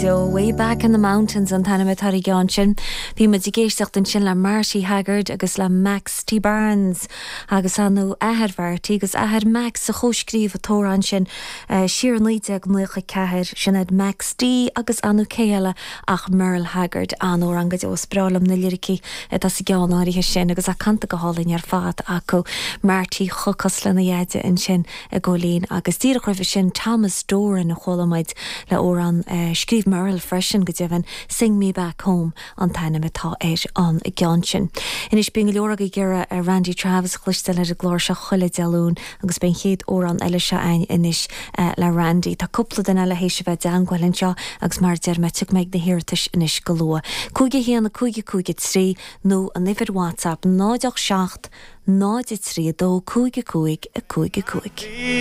Way Back in the Mountains an t-ainm atá ar an gceann sin. Bhí muid ag éisteacht ansin le Marty Haggard agus le Max T. Barnes agus ar ndóigh athair Mharty agus athair Max a chomhscríobh an t-amhrán sin siar i 1994. Sin iad Max D agus ar ndóigh cé eile ach Merle Haggard. An-amhrán go deo. Is breá liom na liricí atá sa gceann áirithe sin agus é canta go hálainn ar fad acu. Marty chomh cosúil lena dheaide ansin. a Chóilín agus díreach roimhe sin Thomas Doran a chuala muid le amhrán a scríobh Merle freisin, go deimhin, Sing Me Back Home an t-ainm atá ar an gceann sin. Anois bíonn go leor agaibh ag iarraidh Randy Travis a chloisteáil ar an gclár seo chuile Dé Luain agus beidh an chéad amhrán eile seo againn anois le Randy. Tá cúpla duine eile théis a bheith i dteangmháil anseo agus mar a deir mé tiocfaidh mé ag na hiarratais anois go luath. 5 1 5 5 3 nó an uimhir WhatsApp 0 8 7 0 3 2 5 5 5 5.